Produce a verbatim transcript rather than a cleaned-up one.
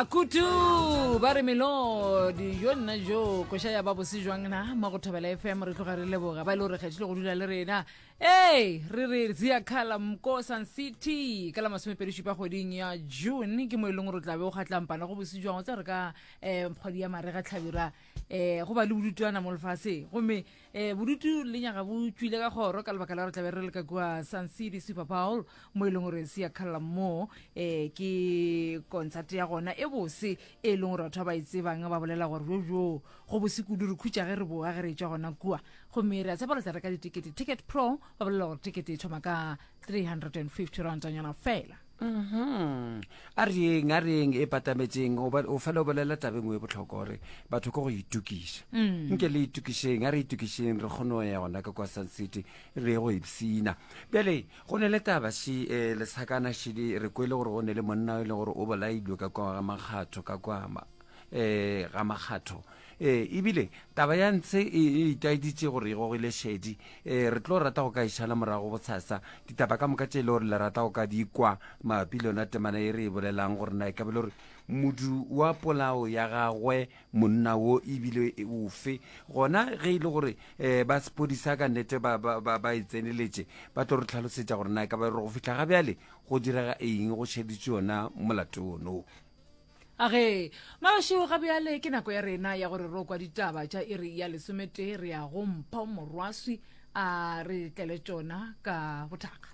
Akutu ba re melodi jo nna jo koša ya ba bose jwang na mo go Thobela F M. Re tloga re leboga ba e le gore kgethile go dula le rena. Ee, re re Ziyakhala mko Sun City ka la masomepedi šupa kgweding ya June ke mo e leng gore o tla be o kgatlampana go bose jwang. O tsa re ka um kgwedi ya marega, tlhabira, um go ba le bodutwana mo lefaseng, gomme um bodutu le nyaga bo tswile ka kgoro ka lebaka la gore tlabe re le ka kua Sun City Super Bowl, mo e leng gore Siyakhala mo um ke concert ya gona e bose e leng gore batho ba ba e tsebang ba bolela gore jojo go bose kudu. Re khutša ge re boa ge re tswa gona kua, gomme re a tshepa re tla reka ditekete. Ticket Pro ba bolela gore tekete e thoma ka three hundred and fifty randanyana fela. Mhm. a reng a reng e patametseng, o ba- o fela o bolela tabeng e botlhokwa gore batho ke go itokiša. Mm. Nke le itokišeng, a re itokišeng, re kgone go ya gona ka kwa Sun City, re ye go ipsina. Bjale go ne le taba še um lesakana šele re kwele gore go ne le monna e leng gore o bolailwe ka kwa ga Makgatho, ka kwa um ga Makgatho um ebile taba ya ntshe e e itaeditše gore e gogile šedi. um re tlo rata go ka išala morago bosasa ditaba ka moka tše e le gore le rata go ka di kwa mabapi le yona temana e re e bolelang, gore na e ka be le gore modu wa polao ya gagwe monna wo ebile e ofe gona. Ge e le gore um ba sepodisa ka nnete ba, ba, ba, ba e tseneletše, ba tlo re tlhalosetša gore na e ka ba gore go fihla ga bjale go direga eng, go šeditše yona molato ono. Age mašego, ga bjale ke nako ya rena ya gore re kwa ditaba tša iri ya lesometee. Re ya go Mpho Morwaswi a re tlele tšona ka bothakga.